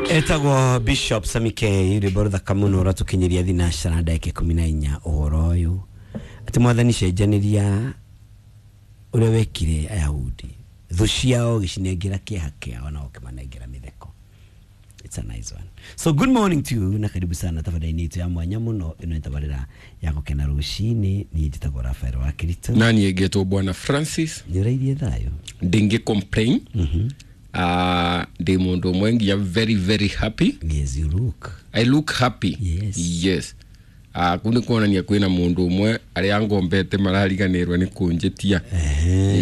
Etagwo Bishop Samike rwĩmbo rũthaka mũno ũratũkinyĩria thinacara ndagĩka 14 ũhoro ũyũ atĩ mwathani cenjanĩria ũrĩa wekire Ayahudi thũ ciao gĩcinengera kĩeha kĩao na ũkĩmanengera mĩtheko. It's a nice one. So good morning to you na karibu sana tabarĩra-inĩ itũ ya mwanya mũno ĩno nĩ tabarĩra ya gũkena rũcinĩ. Niĩ njĩtagwo Rafael wa Kirito. Na niĩ ngetwo Bwana Francis. Nĩ ũrairie thayũ? Ndingĩ complain. Ndĩ mũndũ ũmwe nginya very very happy. Yes, you look. I look happy. Yes. Yes. Kuu nĩ kuonania kwĩna mũndũ ũmwe arĩa ngombete marariganĩrwo nĩ kũnjĩtia.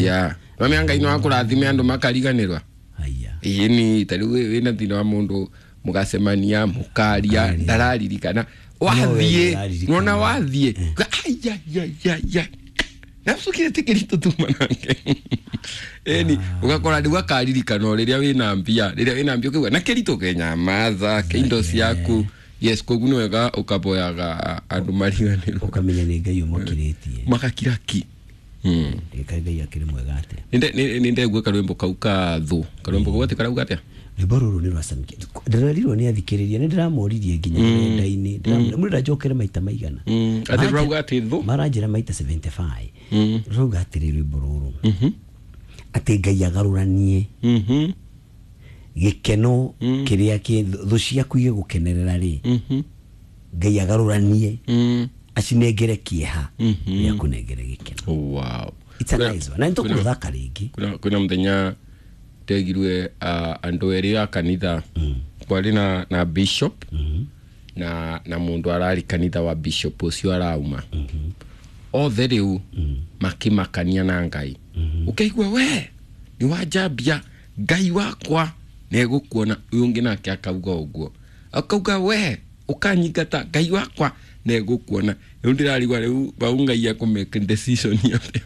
Yeah. Mamĩa Ngai no akũrathime andũ makariganĩrwa. Haya. Ĩni ta rĩu wĩna thĩna wa mũndũ mũgacemania mũkaria ndararirikana wathiĩ ndararirikana. nona wathiĩ aiaiaiai nacukire tikiri tuma nake eni ugakora rĩu akaririkana o rĩrĩa wĩna mbia rĩrĩa wĩna mbia ũkaigua na kĩritũ kenyamaza ke indo ciaku. Yes, koguo nĩ wega ũkaboyaga andũ mariganĩrwo Ũkamenya nĩ Ngai ũmũkirĩtie. magakira ki. Ndĩkaĩ Ngai akĩrĩ mwega atĩa. Nĩ ndegua karwĩmbo kau ka thũ karwĩmbo kau atĩ karauga atĩa? Rwĩmbo rũrũ nĩ rwa Samike. Ndĩrerirwo nĩ athikĩrĩria nĩ ndĩramoririe nginya rũrenda-inĩ. Ndĩramwĩra njokere maita maigana. Atĩ rũrauga atĩ thũ? Maranjĩra maita 75. Rũrauga atĩrĩ rwĩmbo rũrũ. Atĩ Ngai agarũranie gĩkeno kĩrĩa kĩ thũ ciaku igĩgũkenerera rĩ. Ngai agarũranie acinengere kĩeha gĩa kũnengere gĩkeno. Wow. It's a nice one. Na nĩtũkũrũthaka rĩngĩ. Kwĩna mũthenya ndegirwe andũ erĩ a kanitha kwarĩ na bishop na mũndũ ararĩ kanitha wa bishop ũcio arauma othe rĩu makĩmakania na Ngai. Ũkaigua we nĩ wanjambia Ngai wakwa nĩegũkuona. Ũyũ ũngĩ nake akauga ũguo akauga we ũkanyingata Ngai wakwa nĩegũkuona. Rĩu ndĩrarigwa rĩu bau Ngai akũmake decision atĩa.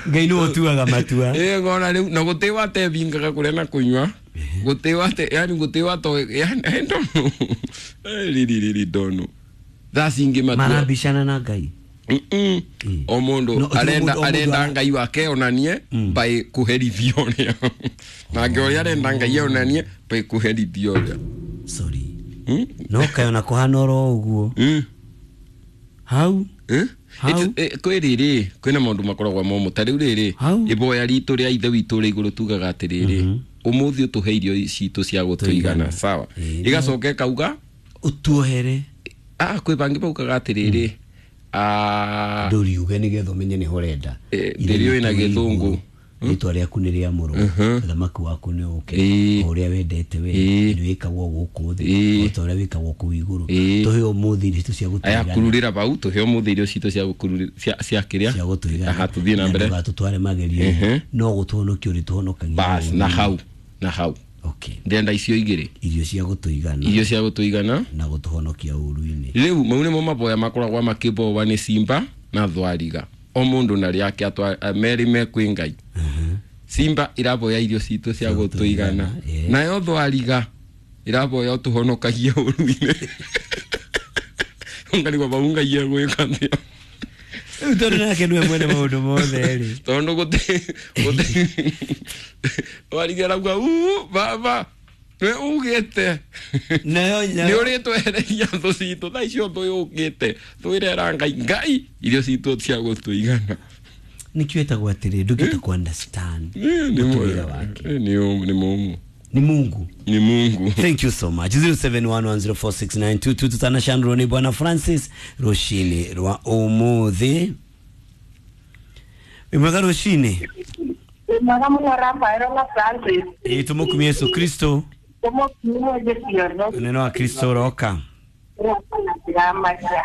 Ngai nĩwe ũtuaga matua. Ĩ ngona rĩu na gũtĩ watebingaga kũrĩa na kũnyua gũtĩ wate yani gũtĩ wato yani I don't know. I really really don't know. Thaa cingĩ matua Marabicana na Ngai. O mũndũ No, ti arenda mũndũ- o mũndũ arenda Ngai wake onanie by kũherithio ũrĩa nake ũrĩa arenda Ngai onanie by kũherithio ũrĩa. Sorry. No kayona kũhana oro ũguo. Hau. Hau. Kwĩ rĩrĩ kwĩna maũndũ makoragwo momũ ta rĩu rĩrĩ Hau. iboya ritũ rĩa ithe witũ rĩa igũrũ tugaga atĩrĩrĩ ũmũthĩ ũtũhe irio citũ cia gũtũigana sawa. Ĩgacoka ĩkauga Ũtuohere. Kwĩ bangĩ baugaga atĩrĩrĩ Ndũriuge nĩgetha ũmenye nĩho ũrenda. Ndĩrĩũĩ na gĩthũngũ. Rĩtwa rĩaku nĩ rĩamũrwo. Ũthamaki waku nĩ ũke. O ũrĩa wendete we nĩ wĩkagwo gũkũ thĩ o ta ũrĩa wĩkagwo kũu igũrũ. Tũhe ũmũthĩ irio citũ cia Aya gũtũigana. kururĩra bau tũhe ũmũthĩ irio citũ cia gũkururĩra cia kĩrĩa Cia gũtũigana. Aha, tũthiĩ na mbere. Ndũgatũtware magerio no gũtũhonokia ũrĩtũhonokagia. Bas na hau na hau. Okay. Ndĩrenda icio igĩrĩ. Irio cia gũtũigana. Irio cia gũtũigana na gũtũhonokia ũru-inĩ. Rĩu mau nĩmo maboya makoragwo makĩbowa nĩ simba na thwariga. O mũndũ na rĩake merĩ me kwĩ Ngai. Simba iraboya irio citũ cia gũtũigana nayo thwariga iraboya ũtũhonokagie ũru-inĩ. Ngarigwo bau Ngai egwĩka atĩa. Rĩu tondũ nake nĩwe mwene maũndũ mothe rĩ. Tondũ gũtĩ thwariga ĩrauga uu baba nĩwe ugĩte Nayo nĩ ũrĩtwehereria thũ citũ thaa icio thũ yũkĩte thũ ĩrera Ngai Ngai irio citũ cia gũtũigana. Nĩkĩo ĩtagwo atĩrĩ ndũngĩhota ku understand mũtũrĩre wake. Nĩ mũmũ. Ni Mungu. Ni Mungu. Thank you so much. 0711046922 tutanashandro ni Bwana Francis rũcinĩ rwa ũmũthĩ. Wĩ mwega rũcinĩ? Mwega mũno Rafael na Francis. Ĩ tũmũkumie Yesu Kristo. Tũmũkumie Yesu. Neno wa Kristo ũroka. Ũroka na ndĩramaria.